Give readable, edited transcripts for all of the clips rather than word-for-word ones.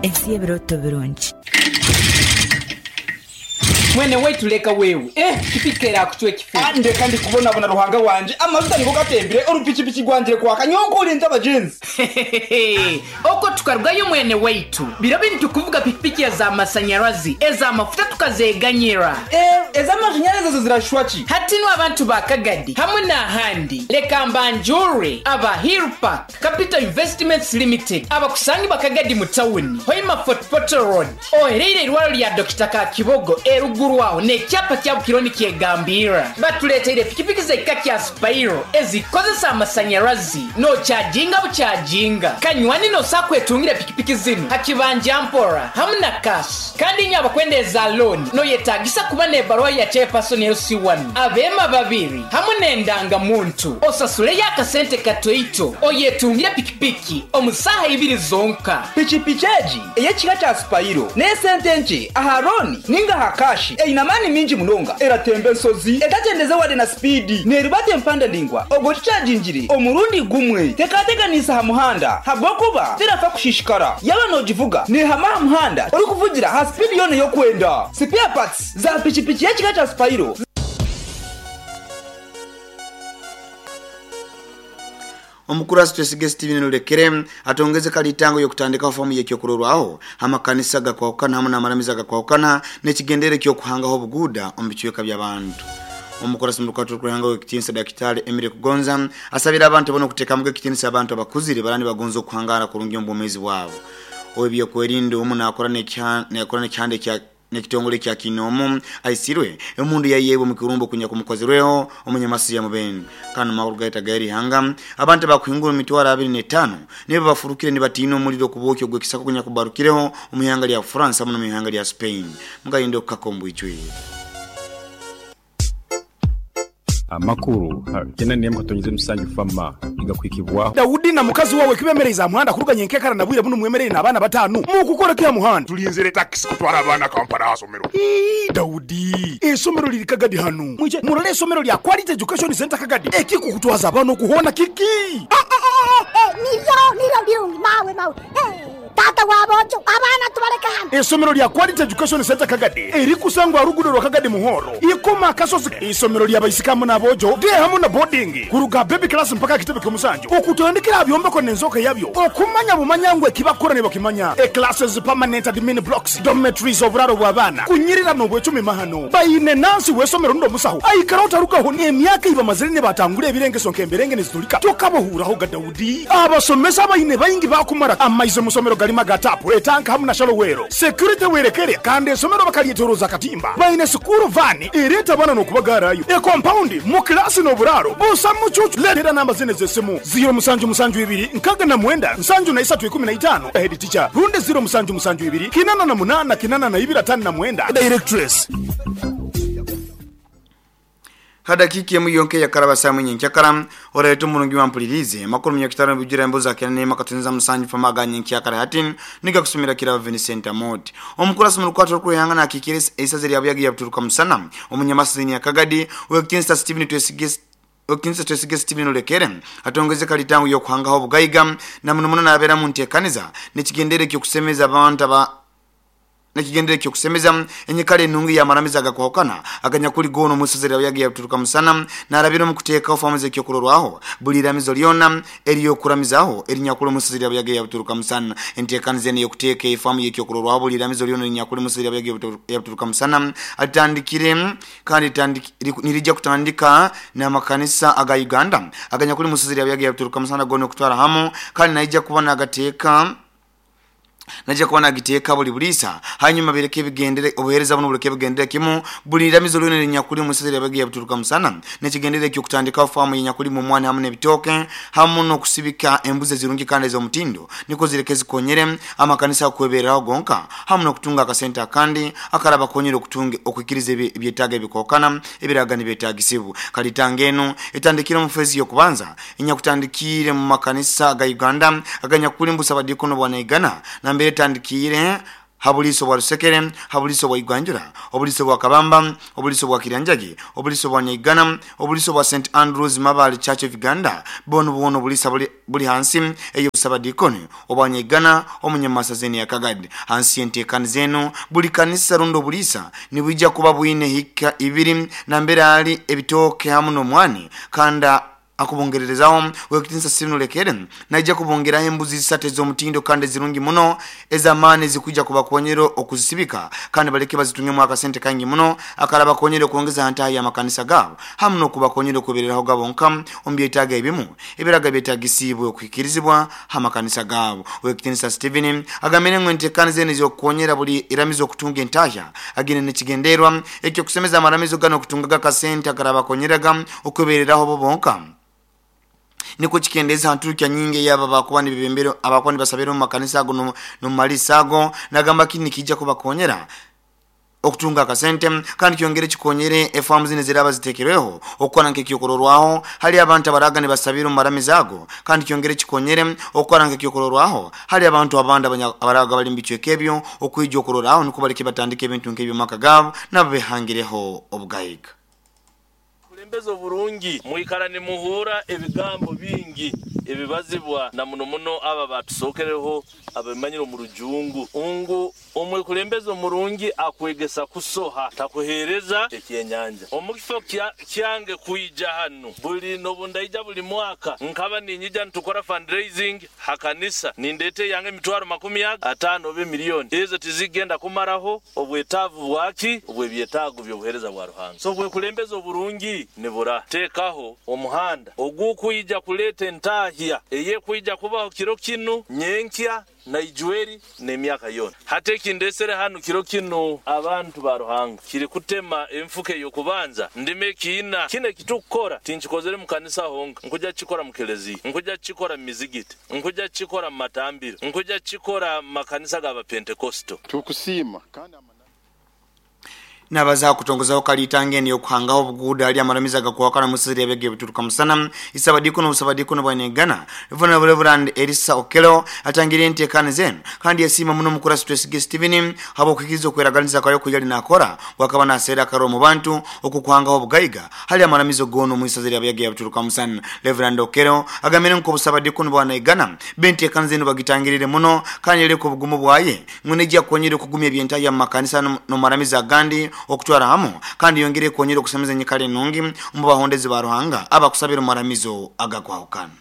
Ensi y'ebirooto birungi. Mwene waitu leka wewe, eh pikipiki erakucwa ekifuba. Ah ndeka ndi kubonabona Ruhanga wangye, amajuta nigo gatembire, orupikipiki rwangire kwaka, nyowe nkorinze abagyenzi. Hehehehe okwo tukarugayo mwene waitu, biro binu tukuvuga pikipiki eza masanyarazi, eza mafuta tukazeganyira. Eh ez'amashanyarazi ezo zirashusha ki? Hati nu abantu ba Kagadi hamwe n'ahandi leka mbanjure aba Hill Park Capital Investments Limited abakusangibwa Kagadi mu tawuni, Hoima Fort Portal Road, ohereire eirwaro lya Dokita Kakibogo eruguru aho n'ekyapa kya Bukiro nikyegambirra. Batuleteire pikipiki z'ekika kya Spiro ezikozesa amasanyarazi n'okyajinga bukyajinga. Kanywani n'osobola kwetungira pikipiki zinu ha kibanja mpora hamu na cash. Kandi inywe abakwenda eza looni noyetagisa kuba n'ebaruha ya Chairperson LC1, abeema babiri hamu n'endanga muntu. Osasuleyo akasente katoito oyetungire pikipiki omu saaha ibiri zonka. Pikipiki egi ey'ekika kya Spiro n'esente nkye aha looni ninga aha kashi. Eine amaani mingi munonga, eratemba ensozi etakyendeze wadde na sipiidi, neerubata empanda ndaingwa obwo ogikyagingire omurundi gumwe. Tekateganiisa aha muhanda habw'okuba terafa kushishikara. Yaaba noogivuga neehama aha muhanda orikuvugira aha sipiidi yoona ei orikwenda. Spare parts za pikipiki y'ekika kya Spiro. Omukurasi Twesige Steven Lulekere atongeze kalitango y'okutandikaho famu y'ekyokurorwaho hamakanisa gakwahukana hamu n'amaramizo agakwahukana n'ekigendere ky'okuhangaho obuguuda omu bicweka by'abantu. Omukurasi murukato rukuranga w'ekitinisa Dakitari Emily Kugonza asabira abantu boona okutekamuga ekitinisa abantu abakuzire barani bagonza okuhangara kurungi omu bwomeezi bwabo. Ow'ebyokwerinda omu nakora n'ekihanda ekya n'ekitongole kya Kinoomu aisirwe emundu yayeebwa omu kirumba okunya kumukozirweho omunyamasi ya Mubende. Kandi omu makuru gaitu ag'erihanga, abantu abakuhingura omu mitwaro abiri n'etaano nibo bafurukire nibatiina omuriro okubwokya ogw'ekisaka okunya kubarukireho omu ihanga lya France hamu n'omu ihanga lya Spain. Mugayinde okukaka omu bwijwire. Amakuru ha kyenda n'emu katonyeze musanju FAMA nigakuhikibwaho. Daudi na mukazi wawe kibemereize aha muhanda kuruga nyenkekara na bwire bunu mwemereire n'abaana batanu? Mukukora ki aha muhanda? Tulinzire takisi kutwara abaana Kampala aha somero. Ii, Daudi, eisomero liri Kagadi hanu. Mwije murole eisomero lya Quality Education Centre Kagadi. Ekikukutwaza abaana oku hoona kiki? Niryo, niryo birungi, mawe, mawe. Taata wa boojo, abaana tubaleke hanu. Eisomero lya Quality Education Centre Kagadi erikusangwa aha ruguudo rwa Kagadi Muhoro, Ikoma Akasozi. Eisomero lya baisiki hamu n'aboojo, day hamu na boarding, kuruga aha baby class mpaka aha kitebe ky'omusanju, okutandikira aha byombeko n'enzooka yabyo, okumanya bumanya ngu eki bakukora nibakimanya. E Classes, permanent admin blocks, dormitories, oburaaro bw'abaana, kunyirira n'obwecumi mahano. Baine nansi w'eisomero rundi omusaho aikaraho tarugaho emyaka ei bamazire nibatangura ebirengeso nk'emberenge niziturika. Tokabahuuraho ga Daudi. Abasomesa abaine baingi baakumara amaizi omu somero garimu aga taapu, etanka hamu na shalowero. Security werekere kandi esomero bakaryetoroza akatimba. Baine sikuuru vaani ereeta abaana n'okubagaarayo. Ekompaundi mu kilaasi n'oburaaro busa mucuucu. Leetera namba zinu ez'esimu, ziiro musanju musanju ibiri nkaaga na mwenda nsanju na isatu ikumi na itaano, Head teacher, rundi ziiro musanju musanju ibiri kinana na munaana kinana na ibiri ataano na mwenda, Directress. Ha dakiika emu yonka eyakaraba saaha imwe nyenkyakara, oraeta omurungi wampuliriize amakuru munyakitara nibijura emboozi akenda n'emu akatoneza musanju fama aga nyenkyakara hati nigakusomera Kirabo Vincent Amooti. Omukurasi omu rukwata orukweihanga nakiikira eisaza erya Buyaga erya Buturuka Musana, omunyamasizini ya Kagadi, Ow'ekitinisa Steven Twesige Ow'ekitinisa Twesige Steven Olekere atongeze kalitango y'okuhangaho obugaiga na muno muno nabeera mu nteekaniza n'ekigendererwa eky'okusemeza abantu aba N'ekigendererwa eky'okusemeza enyikara enungi y'amaramizo agakwahukana aganyakuli goona omu isaza lya Buyaga ya Buturuka Musana n'arabira omu kuteekaho faamu z'ekyokurorwaho buli iramizo lyona ery'okuramizaaho erinyakuli omu isaza lya Buyaga ya Buturuka Musana. Enteekaniza enu ey'okuteeka efaamu y'ekyokurorwaho buli iramizo lyona erinyakuli omu isaza lya Buyaga ya Buturuka Musana alitandikire kandi nirija kutandika n'amakanisa aga Uganda aganyakuli omu isaza lya Buyaga ya Buturuka Musana goona okutwara hamu kandi naija kuba nagateeka Naija kuba nagiteeka buli buliisa. Hanyuma bireke ebigendere, obuheereza bunu buleke bugendere kimu buli iramizo lyona erinyakuli omu isaza lya Buyaga ya Buturuka Musana n'ekigendererwa eky'okutandikaho faamu y'enyakulimu omwani hamu n'ebitooke hamu n'okusibika embuzi ezirungi kandi ez'omutindo nukwo zireke zikonyere amakanisa kweberraho gonka hamu n'okutunga akasente akandi akarabakonyera okutunga okuhikiriza ebyetaago ebikookana ebiraaga nibyetaagisibwa. Kalitanga enu etandikire omu feezi y'okubanza enyakutandikiire mu makanisa ga Uganda aganyakuli mbu Ssabadiikono bwa Naigana nambere etandikiire Habuliso bwa Rusekere, habuliso bwa Igwanjura, obuliso bwa Kabamba, obuliso bwa Kiranjagi, obuliso bwa Nyaigana, obuliso bwa St Andrews Mabali Church of Uganda, bono bono bulisa buli hansi eyo sabadikoni obwa Nyaigana omunyamasazeni ya Kagadi. Hansi entekani zenu buli kanisa rundo bulisa nibwijja kuba bwine hika ibiri na mbere ali ebitoke hamu n'omwani kanda akubongererezaho wekitinsa sinu lekere naija kubongera embuzi zisate z'omutindo kandi zirungi muno ez'amaani zikuja kubakonyera okuzisibika kandi baleke bazitunge mu akasente kangi muno akalaba konyera okuongeza hantaha ya makanisa gabo hamu n'okubakonyera okubereraho gabo nka ombyetaaga ebimu ebiraga byetagisibwe okuhikirizibwa hamakanisa gabo. Wekitinsa Steven agamire ngo entekani zene z'okukonyera buli iramizo okutunga entahya agine nekigenderwa ekyo kusemeza amaramizo gano okutungaga akasente akalaba konyeraga okubereraho bo bonka niko chikendeza hanturukya nyingi yaba bakuba nibebembero abakuba nibasabira mu makanisa ago no malisa ago nagamba kini kijja kubakonyera okutunga akasente kandi kyongere kikonyere efamu zine ziraba zitekereho okukora nk'ekyokororwaho hali abantu abaraga nibasabira mu maramizo ago kandi kyongere kikonyere okukora nk'ekyokororwaho hali abantu abandi abaraga bali mbicweka ebyo okwijja okororaho niko baleke batandika ebintu nk'ebyo maka gabo nabo behangireho obugayiga. Mbezo burungi mwikara ni muhura ebigambo bingi ebibazibwa na muno muno aba batusokereho abamanyiro mu rujungu ungu omwe kulembezo murungi akwegesa kusoha takuhereza ekyenyanja omukifo kyange kuija hano buli nobundaija buli mwaka nkaba ninyija ntukora fundraising hakanisa nindete yange emitwaro 50 obe milioni ezo tizigenda kumaraho obwetavu bwaki obwebyetago byobuhereza bwa Ruhanga. So bwe kulembezo burungi nibura tekaho omuhanda ogukuija kuleta entahya eye kuija kubaho kiro kinu nyenkya na ijueri n'emyaka yona. Hate kindesere hano kiro kino abantu ba Ruhanga kiri kutema emfuke yokubanza ndime kiina kine kitukora tinkikozere mu kanisa honka nkuja kikora mu kelezi nkuja kikora mu mizigiti nkuja kikora mu matambiro nkuja kikora makanisa gaba Pentekosto. Tukusima kandi nabaza kutongozaho kalitange niyo kuhangaho obuguda ali amaramiza gakwakana musiri ebege bituruka musana isabadiko n'obusabadiko n'obwanegana Ivona Reverend Elisa Okelo atangire entekane zenu kandi yasima muno mukura stress Steven habo kukizo kweraganiza kwayo kujali nakora wakaba nasera karo mu bantu okukuhangaho obugayiga hali amaramizo gono muisaziri abege bituruka musana. Reverend Okelo agamire nko busabadiko n'obwanegana bentekane zenu bagitangirire muno kandi yereko obugumu bwaye nguneja konyere kugumya ebyenta ya makanisa no maramiza gandi okutwara hamu kandi yongere konyera okusemeza nyikale nungi mu bahondezi ba Ruhanga abakusabira maramizo agakwahukana.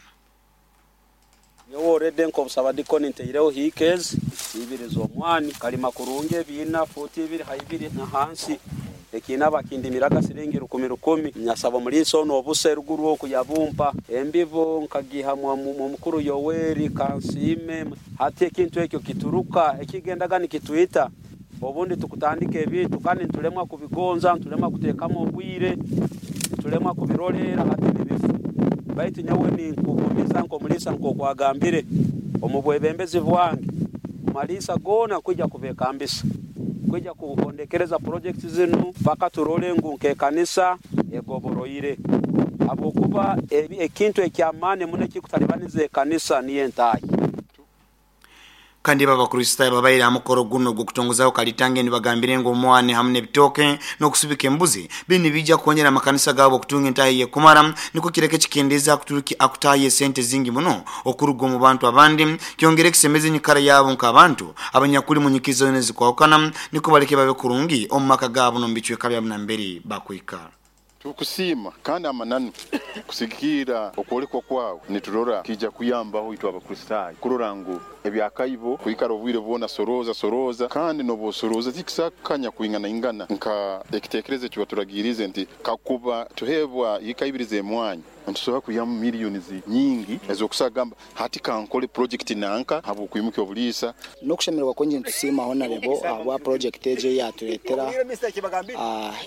Nyowe already nko busabadikoni nteireho hikezi ibiri z'omwani kalima kurungi bina futi ibiri haibiri na hansi ekina bakindimiraga siringi 10,000 nyasaba muliso no obuse ruguru okuyabumpa embibo nkagiha mu mukuru Yoweri Kansime hati ekintu ekyo kituruka ekigendaga nikituita obundi tukutandika ebintu kandi ntulemwa kubigonza ntulemwa kutekamo obwire ntulemwa kubirolera hati nibifu baitu nyowe ni nkugumiza nko mulisa nko kwagambire omubwebembezi bwange malisa gona kujja kubekambisa kujja kuhondekereza project zinu paka turole ngu nke kanisa egoboroire abokuba ekintu ekyamane mune kikutalibanize kanisa niye ntayi. Kandi baba Kristo babaira amukoro guno gukutongozaho kalitange nibagambire ngo omwane hamwe n'ebitoke n'okusubika embuzi bini bijja kukonyera amakanisa gabo okutunga entahi yekumara niko kireke kikendeza akuturuki akutaye sente zingi muno okuruga mu bantu abandi kyongere kisemeze nyikara yabo nk'abantu abanyakuli mu nyikizo nezikwawukana niko baleke babe kurungi omu maka gabo no mbicweka bya namberi bakwikara. Tukusima kandi amananu kusigira okwolekwa kwawe niturora kija kuyambaho itwe abakristayo kurora ngu ebyakaibo kuikara obwire bwona soroza soroza kandi nobosoroza tikisakanya kuingana ingana nka ekitekerezo kibaturagirize nti kakuba tuhebwa yikaibirize emwanyi ntusobola kuyamu miliyoni nyingi ezokusagamba hati kankole project nanka habo kuyimuka obulisa nokushemererwa kwenje ntusima honorable abwa project eje yatuletera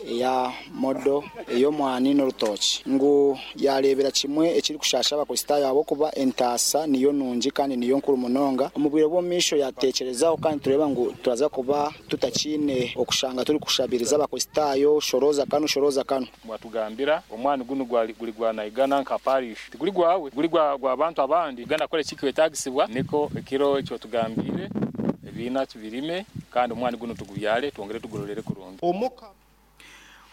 ya modo eyo mwani n'orutoki ngu yarebera kimwe ekiri kushasha abakristayo abo kuba entasa niyo nungi kandi niyo nkuru munonga omubwire bw'omisho yatekerezaho kandi tureba ngu turaza kuba tutakine okushanga turi kushabiriza abakristayo shoroza kanu shoroza kanu. Mwatugambira omwani guno gwali guli gwa Naigana nka parish tiguli gwawe guli gwa abantu abandi ganda kole chikiwetagisibwa niko ekiro ekyo tugambire ebina tubirime Kandi omwani gunu tugubyale twongere tugurolere kurungi.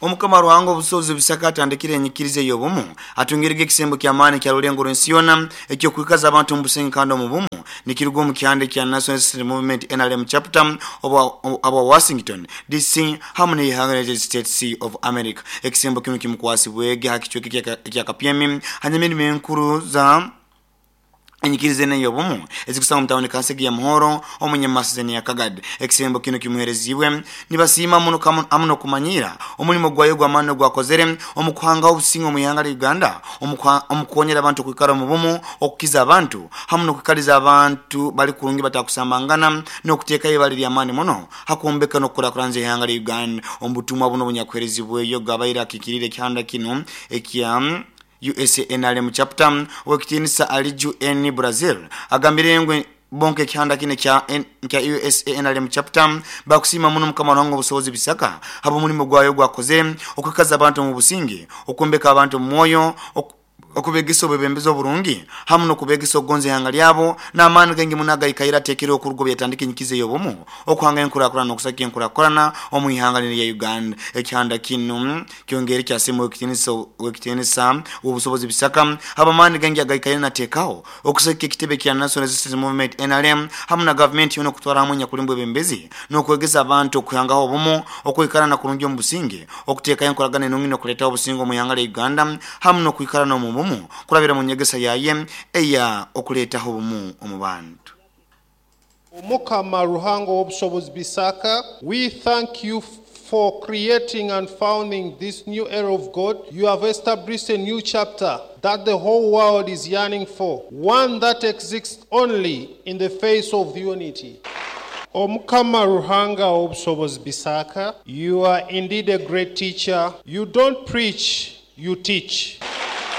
Omukama Ruhanga obusobozi Bisaka atandikire enyikiriza ey'obumu atungirege ekisembo ky'amaani kya Rulengo rw'ensi yoona ekyokwikaza abantu omu businge kandi omu bumu nikiruga omu kihanda ekya National Resistance Movement NRM Chapter obwa Washington DC hamu n'eihanga United States of America. Ekisembo kinu kimukwasibwege ha kicweka ekya Kapyemi hanyuma emirimo enkuru za Enyikiriza enu ey'obumu ezikusangwa omu tawuni Kansege ya Muhoro omu Nyamasizeni ya Kagadi. Ekisembo kinu kimuhereziibwe nibasiima muno hamu n'okumanyiira omulimo gwayo ogw'amaani ogwakozere omu kuhangaho obusinge omu ihanga lya Uganda, omu kukonyera abantu okwikara omu bumu, okukiza abantu hamu n'okwikaliza abantu bali kurungi batakusambangana n'okuteekayo ibara ery'amaani muno ha kwombeka n'okukurakuranza ihanga lya Uganda. Omu butumwa bunu obunyakuherezibweyo gabaire akiikiriire ekihanda kinu ekya USA NRM Chapter ow'ekitiinisa Aliju N. Brazil agambire ngu bo nk'ekihanda kinu ekya USA NRM Chapter bakusiima muno Mukama Ruhanga Obusobozi Bisaka habw'omulimo gwayo ogwakozere okwikaza abantu omu businge, okwombeka abantu omu mwoyo, okubegesa obwebembezi oburungi hamu n'okubegesa okugonza ihanga lyabo n'amaani gaingi muno agaikaire ateekereho okuruga obu yatandika enyikiza ey'obumu okuhanga enkurakurana n'okusagika enkurakurana omu ihanga linu erya Uganda. Ekihanda kinu Kyongeire kyasiima Ow'ekitiinisa w'Obusobozi Bisaka habw'amaani gaingi agaikaire nateekaho okusagika ekitebe kya National Resistance Movement, nrm, hamu na gavumenti yoona okutwara hamu enyakulimu bwebembezi n'okwegesa abantu okuhangaho obumu, okwikarana kurungi omu businge, okuteekaho enkoragana enungi n'okuleetaho obusinge omu ihanga lya Uganda hamu n'okwikarana omu bumu kurabira mu nyegesa yaye eya okuleetaho obumu omu bantu. Omukama Ruhanga Ow'obusobozi Bisaka, we thank you for creating and founding this new era of God. You have established a new chapter that the whole world is yearning for, one that exists only in the face of unity. Omukama Ruhanga Ow'obusobozi Bisaka, you are indeed a great teacher. You don't preach, you teach.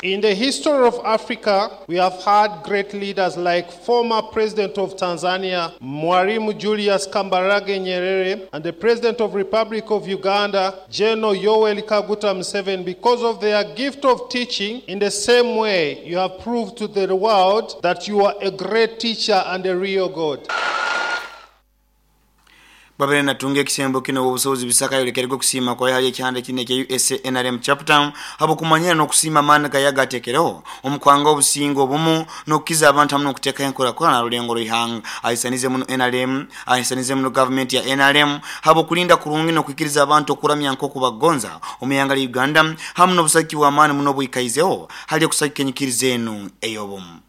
In the history of Africa, we have had great leaders like former President of Tanzania, Mwalimu Julius Kambarage Nyerere, and the President of Republic of Uganda, General Yoweri Kaguta Museveni, because of their gift of teaching. In the same way, you have proved to the world that you are a great teacher and a real God. Babaire natunga ekisembo kinu Owobusobozi Bisaka ayolekerege okusiima kwaye hali ekihanda kinu ekya USA NRM Chapter habwokumanyira n'okusiima amaani gaye agatekereho omu kuhanga obusinge obumu n'okukiza abantu hamu n'okutekaho enkurakurana ha rulengo rw'eihanga. Ahisanize muno nrm ahisanize muno gavumenti ya nrm habwokulinda kurungi n'okwikiriza abantu okuramya nk'oku bakugonza omu ihanga lya Uganda hamu n'obusagiki bw'amaani muno obwikaizeho hali okusagika enyikiriza enu ey'obumu.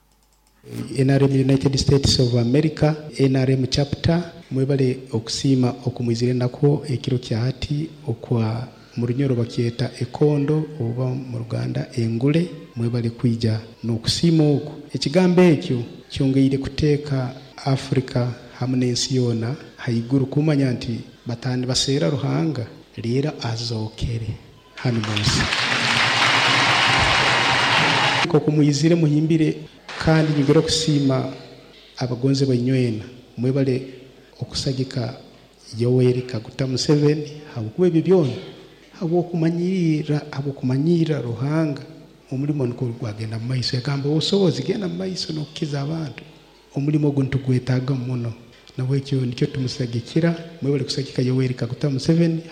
Nrm United States of America, nrm Chapter, mwebale okusiima okumwizire nakwo ekiro kya hati okwa mu Runyoro bakyeta ekondo oba mu Luganda engule. Mwebale kwija n'okusiima okwo. Ekigambo ekyo kyongeire kuteeka Africa hamu n'ensi yoona haiguru kumanya nti batandi baseera Ruhanga reero azookere. Hanu munsi. Nkoku mwizire muhimbire kandi nyongera okusiima abagonzebwa inywena mwebale okusagika Yoweri Kaguta Museveni habwokuba ebyo byona habwokumanyirra habwokumanyirra Ruhanga omulimo nukwo gwagenda mumaiso yagamba obusobozi genda mumaiso nokukiza abantu omulimo ogu nitugwetaaga muno nabwekyo nikyo tumusagikira mwebale kusagika Yoweri Kaguta Museveni.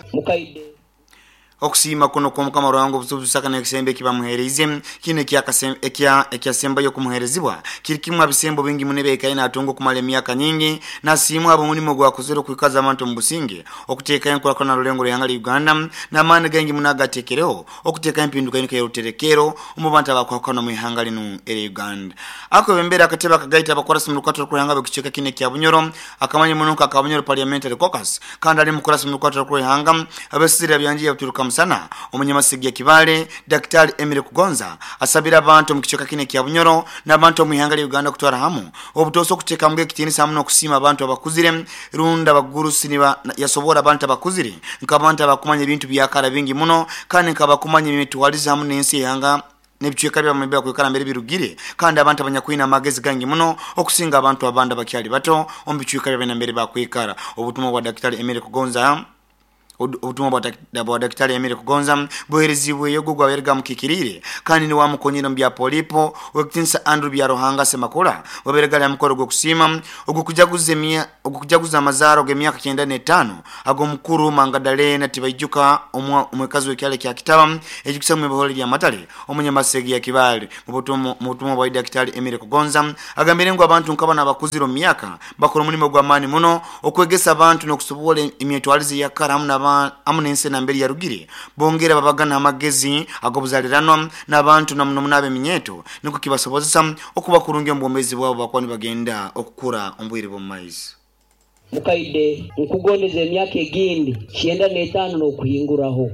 Okusiima kunu okw'Omukama Ruhanga obusubuzi Isaka n'ekisembo eki bamuheereize, kinu ekyasembayo okumuheerezibwa, kiri kimu ha bisembo bingi muno ebi aikaire naatunga okumara emyaka nyingi. Nasiimwa habw'omulimo ogu akozere okwikaza abantu omu businge, okuteekaho enkurakurana ha rulengo rw'ihanga lya Uganda, n'amaani gaingi muno agateekereho okuteekaho empindukahinduka y'oruterekeero omu bantu abakwahukana omu ihanga linu erya Uganda. Akwebembera akatebe akagaita abakurasi omu rukwata rw'ihanga ab'ekicweka kinu ekya Bunyoro, akamanywa muno nka Kabunyoro Parliamentary Caucus, Kandi ali mukurasi mu rukwata rw'eihanga abesizire byangi yabaturuka musana, omunyamasigi ya Kibaale, Dakitali Emily Kugonza asabire abantu omu kicweka kinu ekya Bunyoro n'abantu omu ihanga lya Uganda kutwara hamu obutoosa okuteekamuga ekitiinisa hamu n'okusiima abantu abakuzire rundi abagurusi niba yasoboora abantu abakuzire nk'abantu abakumanya ebintu byakara bingi muno kandi nk'abakumanya emitwarize hamu n'ensi y'eihanga n'ebicweka byabo mbere bakwikara mbere birugire, kandi abantu abanyakwine amagezi gaingi muno okusinga abantu abandi abakyali bato omu bicweka byabo nambere bakwikara. Obutumwa bwa Dakitali Emily Kugonza. Obutumwa bwa Dakitali Emile Kugonza buherezibwe yogo gwaberega mukikirire kandi ni wamukonyera mu bya polipo wekitinsa Andrew Byaruhanga Semakula waberega ya mukoro gwo kusima ogukujaguza amazaro g'emyaka 95 ago mukuru Mangadalena Tibaijuka omwekazi w'ekyalo kya Kitaba ekikusa mu bihole lya Matale omunyamasegi ya Kibale. Mu butumwa bwa Dakitali Emile Kugonza agambire ngo abantu nkabana abakuziro myaka bakora omulimo gw'amaani muno okwegesa abantu n'okusobola emyetwalize ya kara hamu n'ensi nambere yarugire bongera babagana amagezi ag'obuzaliranwa n'abantu namuno munabe eminyeto niko kibasobozesa okuba kurungi omu bwomeezi bwabo bakuba nibagenda okukura omu bwire bw'omu maiso. Mukaide nkugondeza emyaka egindi 95 n'okuhinguraho.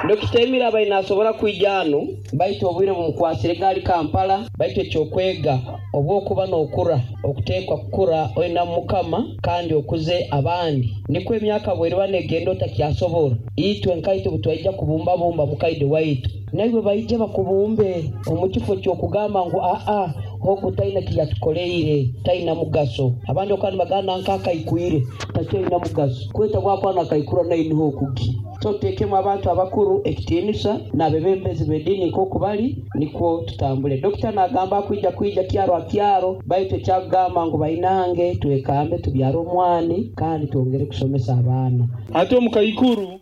Dokita Emile abaire nasobora kwija hanu baitu obwire bumukwasire gaali Kampala, baitu ekyokwega obwokuba n'okura okuteekwa kukura oina Mukama kandi okuze abandi, nikwo emyaka bweriba negenda otakyasobora. Itwe nkaitwe butwaija kubumbabumba mukaide waitu, naiwe baije bakubumbe omu kifo ky'okugamba ngu aa ogu taina kiyatukoleire, taina mugaso. Abandi okuba nibagamba nanka akaikwire takyaina mugaso, kweta bwakwana nakaikura nainiho okugi. So tuteekemu abantu abakuru ekitiinisa n'abebembezi b'ediini nk'oku bali, nikwo tutambule. Dokita nagamba akwija kwija kyaro ha kyaro, baitu ekyakugamba ngu bainange twekambe tubyare omwani kandi twongere kusomesa abaana. Ate omukaikuru.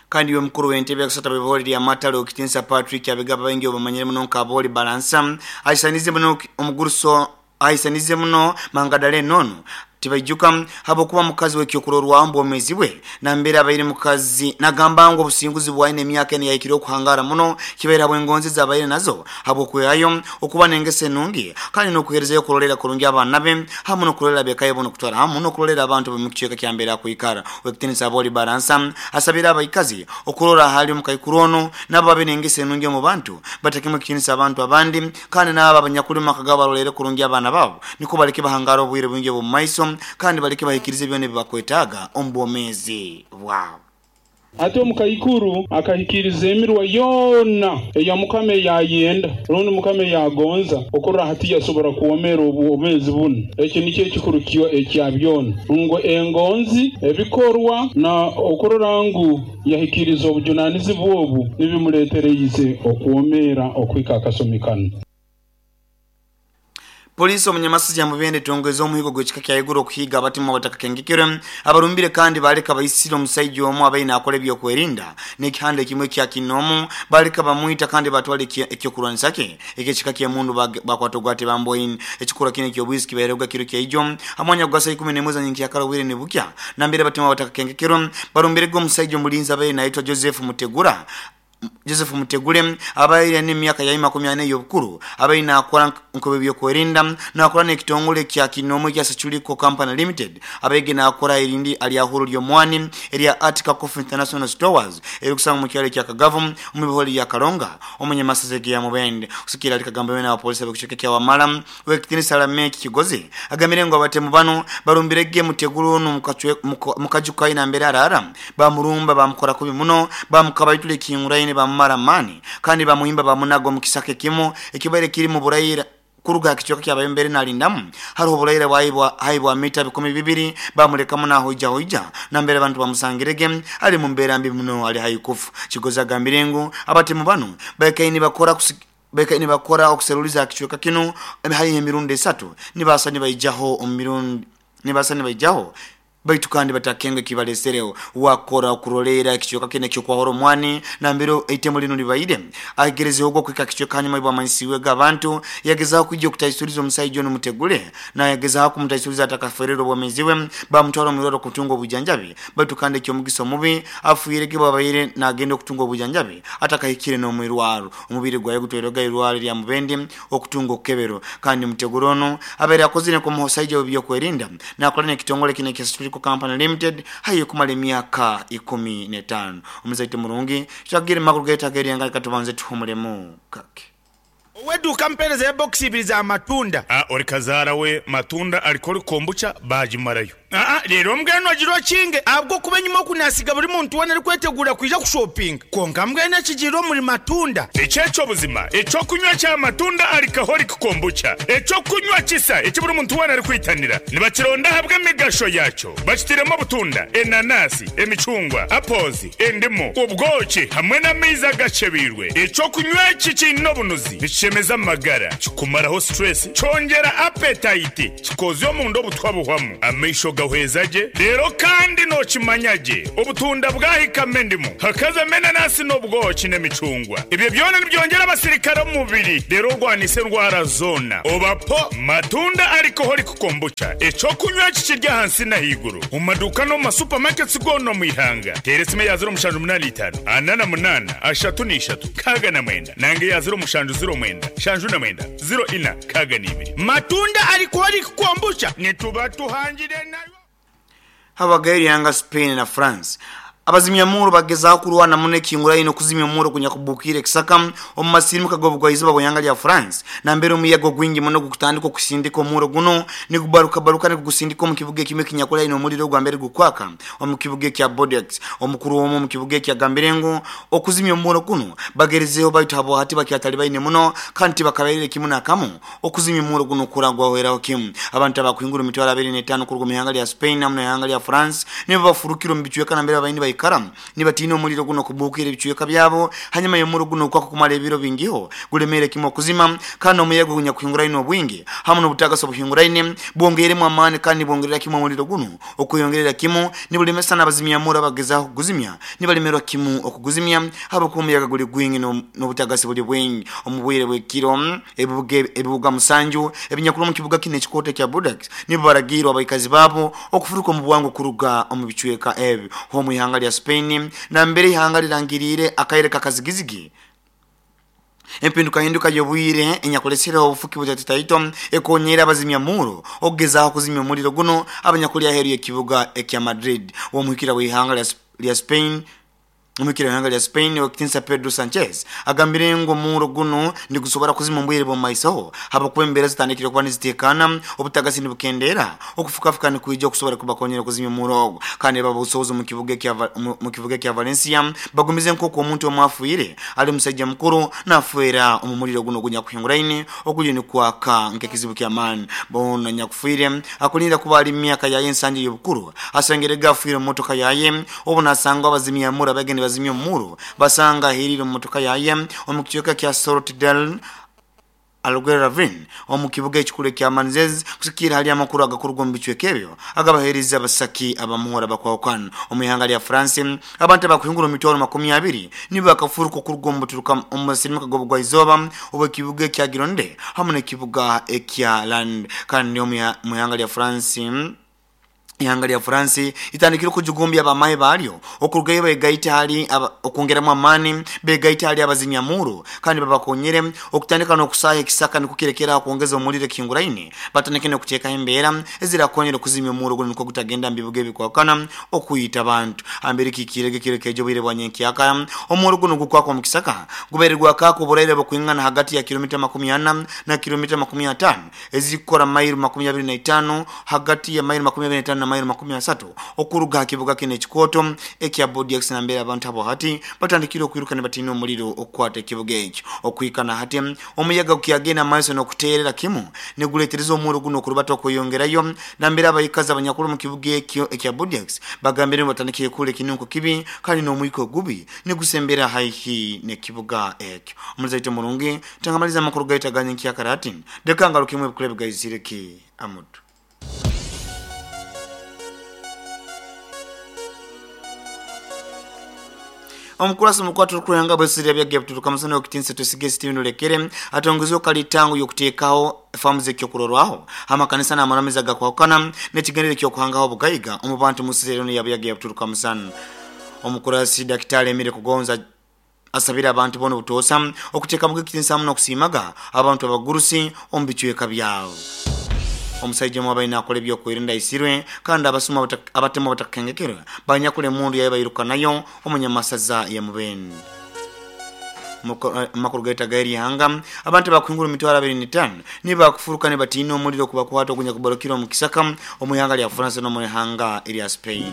Kandi iwe mukuru w'entebe yakusata b'ebihore lya Matale Okitinsa Patrick Abigaba baingi obamanyire muno nka Abooli Balansa aisanize muno omuguruso aisanize muno Mangadalena onu Tibaijuka habwokuba mukazi w'ekyokurorwaho omu bwomeezi bwe. Nambere abaire mukazi nagamba ngu obusinguzi bwaine emyaka enu yahikire okuhangara muno kibaire habw'engonzi ezabaire nazo habw'okwehayo, okuba n'engeso enungi kandi n'okuheerezayo kurolerra kurungi abaana be hamu n'okurolerra ab'eka ye boona okutwara hamu n'okurolerra abantu ab'omu kicweka kya mbere akwikara. Ow'ekitiinisa Abooli Baransa asabire abaikazi okurora hali omukaikuru onu nabo babe n'engeso enungi omu bantu, batekemu ekitiinisa abantu abandi kandi n'abo abanyakuli omu maka gaabo barolerre kurungi abaana baabo nikwo baleke bahangara obwire bwingi obw'omu maiso kandi baleke bahikirize byona ebi bakwetaaga omu bwomeezi bwabo. Ate omukaikuru akahikiiriza emirwa yoona eya Mukama ei ayenda, rundi Mukama ei agonza, okurora hati yasobora kwomeera obwomeezi bunu. Eki nikyo ekikuru ekya byona, ngu engonzi, ebikorwa, na okurora ngu yahikiiriza obujunanizibwa obu nibimuletereize okwomeera okuhika akasumi kanu. Poliisi omu Nyamasizi ya Mubende etongweze omuhigo gw'ekika kya iguru okuhiiga abatemu abatakakengekirwe abarumbire kandi baleka baisire omusaija omu abaire naakora eby'okwerinda n'ekihanda ekimwe ekya kinoomu baleka bamwita kandi batwara eky'okurwanisa kye eky'ekika ky'emundu bakwata ogwate bamboine. Ekikorwa kinu eky'obwisi kibairehoga kiro kya ijo ha mwanya gwa saa ikumi n'emwe za nyenkyakara obwire nibukya nambere abatemu abatakakengekirwe barumbirege omusaija omulinzi abaire nayetwa Joseph Mutegura Joseph Mutegule abaire aine emyaka ya imakumi ana ey'obukuru abaire naakora nk'ow'ebyokwerinda naakora n'ekitongole kya kinoomu ekya Seculico Company Limited abaige naakora erindi alyahuro ly'omwani erya Atika Coffee International Stores erikusangwa mu kyalo ekya Kagavu omu bihore lya Karonga omunyamasaza egeya Mubende. Kusikira ali Kagambo beene abapolisi ab'ekicweka ekya Wamala Ow'ekitiinisa Lameck Kigozi agambire ngu abatemu banu barumbire ge Mutegule onu mukaju kaye nambere araara, bamurumba bamukora kubi muno, bamukabaitula ekihinguraine bamumara amaani kandi bamuhimba bamunaga omu kisaka ekimu ekibaire kiri mu buraira kuruga ha kicweka kyabaire mbere nalindamu haroho oburaira haihi bwa mita 2,000 bamulekamu nahoijahoija nambere abantu bamusangirege ali mu mbeera mbi muno ali haihi kufa. Kigozi agambire ngu abatemu banu baikaire nibakora Baikaire nibakora okuseruliza aha kicweka kinu haihi emirundi esatu, nibaasa nibaijaho omu mirundi nibaasa nibaijaho baitu kandi batakenga ekibalesereho. Wakora okuroleera ekicweka kinu eky'okwahura omwani nambere eitemu linu libaire. Agerezeho ogwo kuhika kicweka hanyuma y'obwamanyisiibwege abantu, yagezaho kwija okutaisuriza omusaija onu Mutegule. Nayagezaho kumutaisuriza atakafeererwe obwomeezi bwe, bamutwara omu irwarro kutunga obwijanjabi baitu kandi eky'omugisa omubi afiirege bwabaire nagenda okutunga obwijanjabi atakahikire n'omu irwarro. Omubiri gwaye gutwairwega eirwaro erya Mubende okutunga okukebero. Kandi Mutegura ono abaire akozire nk'omuhosaija w'ebyokwerinda nakora n'ekitongole kino ekya Securico Company Limited haihi okumara emyaka 15. Omuzaite murungi, twagire mu makuru gaitu ag'eryanga reka tubanze tuhumuremu kake. Ow'eduuka mpeereza ebokisi ibiri za matunda. A Ori kazaara we matunda alikori kombucha baagimarayo. Aa Reero mbwenu ogira okinge ahabw'okuba enyima oku naasiga buri muntu weena arikweteguura kwija kushopinga. Kwonka mbwenu ekigiire omuri matunda. Eki eky'obuzima eky'okunywa kya matunda alcoholic kombucha, eky'okunywa kisa eki buri muntu weena arikwitanira. Nibakironda ahabw'emigasho yaakyo. Bakitairemu obutunda, enanasi, emicungwa, apples, endimu, obwoki hamwe n'amaizi agakyebeirwe. Eky'okunywa eki kiine obunuzi, nikishemeza amagara, kikumaraho stress, kyongyera appetite, kikozya omunda obutwa buhwamu, amaisho gahweza gye, reero kandi nookimanya gye obutunda bwahikamu endimu, hakazamu enanasi n'obwoki n'emicungwa. Ebyo byona nibyongyera abasirikare omu mubiri reero orwanise endwara zoona. Oba po Matunda Alcoholic Kombucha, eky'okunywa eki kiri ahansi n'ahaiguru omu maduuka n'omu ma supermarkets goona omu ihanga. Teera esimu eya 0785 48 33 69 nanga eya 0709 79 04 62. Matunda Alcoholic Kombucha nituba tuhangire nayo. Habagayo eryanga Spain na France. Abazimya-murro bagezaaho kurwana muno ekihinguraine okuzimya omurro ogunyakubbukiire ekisaka omu masirimuka g'obugwaizoba bw'ihanga lya France nambere omuyaga ogwingi muno gukutandika okusindika omurro gunu nigubarukabaruka nigugusindika omu kibuga ekimu ekinyakuli haihi n'omuliro ogwambere gukwaka omu kibuga ekya Bordeaux. Omukuru omu omu kibuga eki agambire ngu okuzimya omurro gunu bagerizeeho baitu habwahati bakyatalibaine muno kandi tibakabairire kimu n'akamu okuzimya omurro gunu kurora gwahweraho kimu. Abantu abakuhingura emitwaro abiri n'etaano kuruga omu ihanga lya Spain hamu n'ihanga lya France nibo bafurukire omu bicweka nambere babaire nibaikara nibatiina omuliro gunu okubuukira ebicweka byabo hanyuma y'omurro gunu okwaka kumara ebiro bingiho gulemeere kimu okuzima kandi omuyaga ogunyakuhinguraine obwingi hamu n'obutagasi obuhinguraine bwongeiremu amaani kandi nibwongerera kimu omuliro gunu okweyongerera kimu nibulemesa n'abazimyamurro abagezaaho kuguzimya nibalemerwa kimu okuguzimya habwokuba omuyaga guli gwingi n'obutagasi buli bwingi. Omu bwire bw'ekiro, ebibuga ebibuga musanju ebinyakuli omu kibuga kinu ekikooto ekya Bordeaux nibo baragiirwe abaikazi baabo okufuruka omu bwangu kuruga omu bicweka ebi. Omu ihanga lya Spain nambere ihanga lirangiriire akaire k'akazigizigi, Empindukahinduka y'obwire enyakulesereho obufuki butaitotaito ekonyeire abazimya-murro okugezaaho kuzimya omuliro gunu abanyakuli aheeru y'ekibuga ekya Madrid. Omuhikira w'ihanga lya Spain Omuhikira w'ihanga lya Spain Owekitinisa Pedro Sanchez agambire ngu omurro gunu nigusobora kuzima omu bwire bw'omumaisoho habwokuba embeera zitandikire kuba niziteekaana, obutagasi nibukendeera, okufukafuka nikwija okusobora kubakonyera kuzimya omurro ogu kandi ababusobozi omu kibuga ekya Valencia Bagumize nk'oku omuntu omu afiire ali musaija mukuru nafeera omu muliro gunu ogunyakuhinguraine oguliyo nigwaka nk'ekizibu ky'amaani. Boona nyakufiire akulinda kuba ali mu myaka yaye ensanju ey'obukuru asengerege afiire omu motoka yaye obu nasangwa abazimyamurro abaige nibazimya omurro basanga ahiiriire omu motoka yaye omu kicweka kya Salt del Alguerravin omu kibuga ekikuru ekya Manzez kusigikirra hali amakuru agakuruga omu bicweka ebyo agabaheerize abasaki abamuhura abakwahukana. Omu ihanga lya France, abantu abakuhingura omu mitwaro makumi abiri nibo bakafuruka okuruga omu buturuka omu masirimuka g'obugwaizooba obw'ekibuga ekya Gironde hamu n'ekibuga ekya Landes. Kandi omu ihanga lya France, Ihanga lya Furansi litandikire okujugumbya abamahe baalyo okurugayo begaite hali okwongeramu amaani begaite hali abazimyamuuro kandi babakonyere okutandika n'okusaaha ekisaka nukwo kirekere aho kwongeza omuliro ekihinguraine batandike n'okuteekaho embeera ezirakonyera okuzimya omuuro gunu nukwo gutagenda mu bibuga ebikwahukana okwita abantu. Hambere kiikiirege ekiro ekeija obwire bwa nyenkyakara omuuro gunu gukwaka omu kisaka gubaire gwakaaka oburaire bukwingana hagati ya kilomita 40 na kilomita 50 ezirikukora mailo 25 hagati ya mailo 25 na mailo 30 okuruga ha kibuga kinu ekikooto ekya Bordeaux nambere abantu abo hati batandikire okwiruka nibatiina omuliro okukwata ekibuga ekyo. Okuhika na hati, omuyaga gukyagenda mumaiso n'okuteerera kimu niguleetereza omurro gunu okurubata okweyongerayo nambere abaikazi abanyakuli omu kibuga ekyo ekya Bordeaux bagambire ngu batandikire kuhurra ekinunko kibi kandi n'omwika ogubi nigusembera haihi n'ekibuga ekyo. Omulizi waitu omurungi, Tangamaliza amakuru gaitu aga nyenkyakara hati, leka ngarukemu ebikuru ebigaizire ki amutu. Omukurasi omukwate orukuranga bwesirya bya Gebturuka Musana Owekitinisa Twesige Stephen Olekere atongoize kalitango y'okuteekaho faamu z'ekyokurorwaho h'amakanisa n'amaramizo agakwahukana n'ekigendererwa eky'okuhangaho obugaiga omu bantu omu nsi enu ya Buyaga Yabturuka Musana. Omukurasi Dakitali Emile Kugonza Asabire abantu boona obutoosa okuteekamuga ekitiinisa hamu n'okusiimaga abantu abagurusi omu bicweka byabo. Omusaija omu abaire naakora eby'okwerinda aisirwe kandi abasuma abatemu abatakakengekerwe banyakura emundu yaye bairuka nayo omu Nyamasaza ya Mubende. Amakuru gaita gairi hanga abantu bakuhingura mitwaro 25 nibakufuruka nibatiina omuliro kubakwata ogunya kubarukira omu kisaka omu ihanga lya France no mu ihanga lya Spain.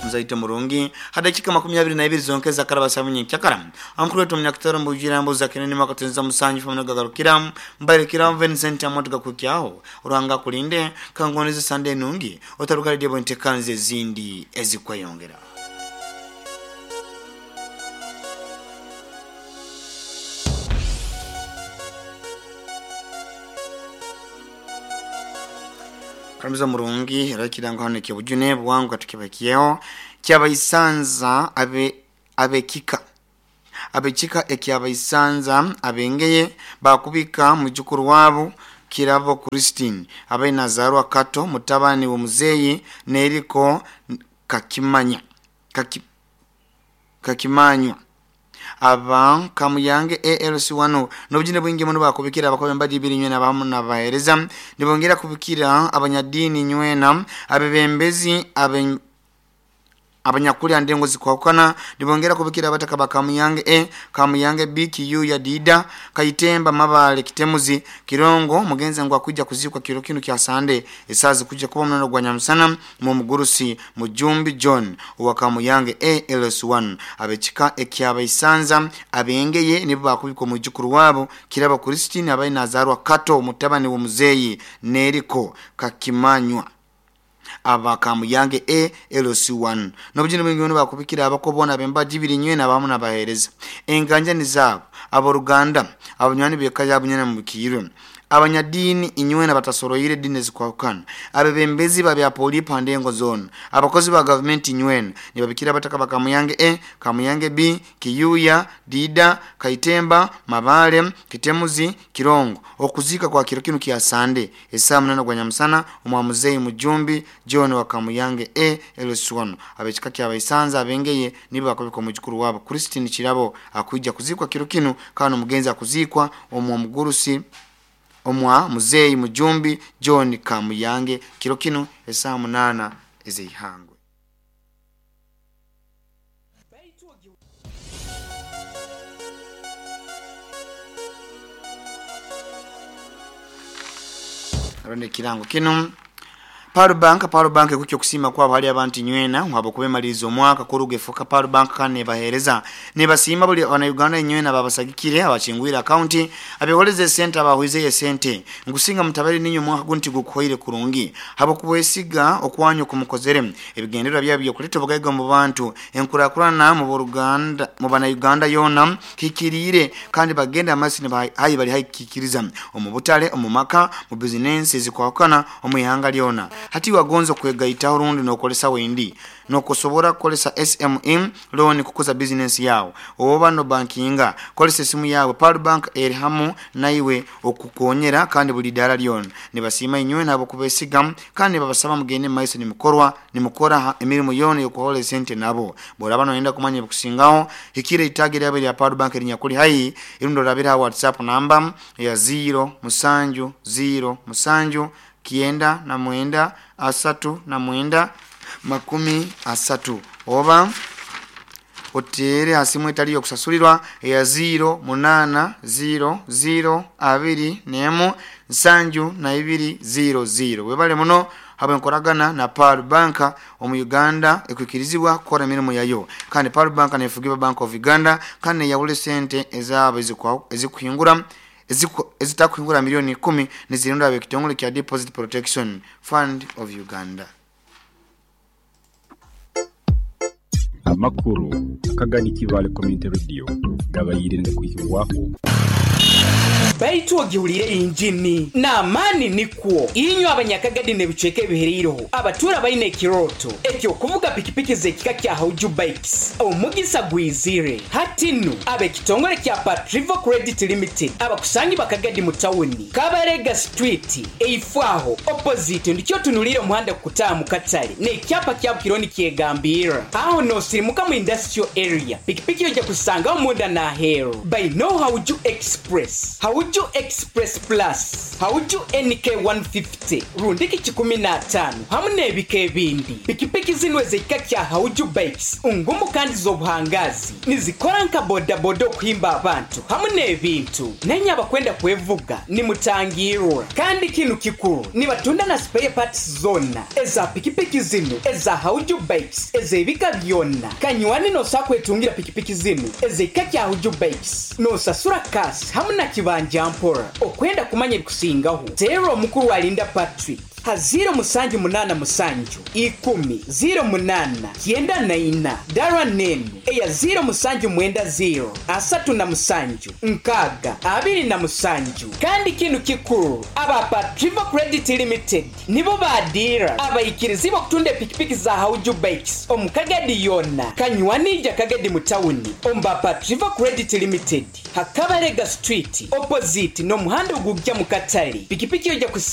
Mzaite murungi hadakika 22 zonkeza karaba samunye kyakara ankuru wetu mnyakitaro mbujira mbuza kinene makatenza musanju famuna gagarukira mbarekira Vincent amotuka kukyaho uranga kulinde kangoneze sande nungi otaruka radio bontekanze zindi ezikwayongera. Karamiza murungi rakirango hano kibujune bwangu tukibakiyeho kyabaisanza abekika abekika ekyabaisanza abengeye bakubika mujukuru wabo Kirabo Christine abe Nazarwa Kato mutabani wa muzeyi neriko kakimanya kakimanywa aba kamuyange ALC1 nobujine bwingi muno bakubikira abakobe mbaji biri nywena bamu nabahereza nibongera kubikira abanyadini nywena abebembezi abanyakuli andengo zikwakana nibongera kubikira abataka bakamuyange E Kamuyange B Q ya Dida Kaitemba Mabale Kitemuzi Kirongo mugenzi ngo akujja kuzikwa kiro kinu kya Sande esazi kujja kuba munano gwa Nyamusana mu mugurusi Mujumbi John wa Kamuyange ALS1 abekika ekyabaisanza abengeye nibo bakubikwa mujukuru wabo Kirabo Christine abaye Nazarwa Kato mutabani wa muzeyi Neriko Kakimanywa aba Kamuyange A LC1 nobujine bwingi bano bakubikira abakobona bembaji biri nywena abamu nabahereza enganja ni zabo aboruganda abanywanyi beka yabunyana mu bikiro abanyadini inywena batasoroyire dini zikwakana abebembezi babya poli pandengo zone abakozi ba government inywena nibabikira bataka bakamuyange E Kamuyange B Kiyuya Dida Kaitemba Mabale Kitemuzi Kirongo okuzika kwa kiro kinu kya Sande esaa 8 gwa Nyamusana omwa Mujumbi John wa Kamuyange E LC1 abekika kya baisanza abengeye nibo bakobiko mujukuru wabo Christine Kirabo akujja kuzikwa kiro kinu kano mugenzi akuzikwa omwa mugurusi omwa muzeyi Mujumbi John Kamuyange kiro kino esaa 8 ezihangwe. Aronde kirango kino Paru Bank kukyo kusima kwa hali abantu nywena wabo kubemaliza omwaka kuruge foka Paru Bank kane bahereza nebasima buli wana Uganda nywena babasagikire abachingwira account abeholeze center abahuize sente ngusinga mutabari ninyo mwaka gunti gukoire kurungi habo kubwesiga okwanyo kumukozere ebigendera byabyo kuleta bugaiga mu bantu enkurakurana mu Ruganda mu bana Uganda yona kikirire kandi bagenda amasi ne hayi bali hayikikiriza omubutale omumaka mu business ezikwakana omuyihanga lyona hati wagonzo kwegaita rundi nokolesa wendi nokusobora kukolesa SMM loan kukuza business yao oba no bankinga kolesa simu yawe Pearl Bank erhamu naiwe okukonyera kandi buli dala lyona nibasima inywe nabo kubesiga kandi babasaba mugende maiso ni mukora emirimu yona yokuhola sente nabo bora bano enda kumanya bukusingaho hikire itagire yabe ya Pearl Bank erinyakuli hayi irundo rabira WhatsApp namba ya 0 7 0 7 9 9 3 30 oba otere asimu etali yokusasulirwa ya 0 8 0 0 2 nemu 7 2 0 0 webale muno habe nkoragana na Pearl Bank omu Uganda ekwikirizibwa kukora emirimu yayo kandi Pearl Bank nefugiba Bank of Uganda kandi yawule sente ezabo ezikuhingura ezitakuhingura milioni 10 nizirunda abekitongole kya Deposit Protection Fund of Uganda. Amakuru akagani Kivale Community Radio gabayirinde kuyiwaho baitu ogihulire injini n'amaani nikwo inywe abanyakagadi n'ebicweka ebihereireho abatura baine ekiroto ekyokuvuga pikipiki z'ekika kya Hauju Bikes omugisa gwizire hati nnu ab'ekitongole kya Patrivo Credit Limited abakusangi bakagadi mu tawuni Kabarega Street eifwaho opposite ndikyo tunulire omuhanda kukutaaha mu katale n'ekyapa kya Bukironi kyegambira aho noosirimuka mu industrial area pikipiki ojja kusangaho munda n'aheeru by no Hauju Express Hauju Hauju Express Plus, Hauju NK 150 rundiki 15 hamu n'ebika ebindi. Pikipiki zinu ez'ekika kya Hauju Bikes ngumu kandi z'obuhangazi, nizikora nka bodaboda okuhimba abantu hamu n'ebintu. Nenye abakwenda kwevuga nimutangirwa. Kandi kinu kikuru, nibatunda na spare parts zona eza pikipiki zinu eza Hauju Bikes ez'ebika byona. Kanywani nosobola kwetungira pikipiki zinu ez'ekika kya Hauju Bikes, nosasura kasi hamu na kibanja mpora. Okwenda kumanya ebikusingaho, teera omukuru Alinda Patrick ha 0787 10 08 94, dara nenu eya 0790 37 6 27. Kandi kinu kikuru, aba Patriva Credit Limited nibo badira abaikirizi okutunda epikipiki za Hauju Bikes omu Kagadi yona. Kanywanija Kagadi mu tawuni omu ba Patriva Credit Limited, Hakabarega Street opposite n'omuhanda ogujja mu katale. Pikipiki ojja kusanga.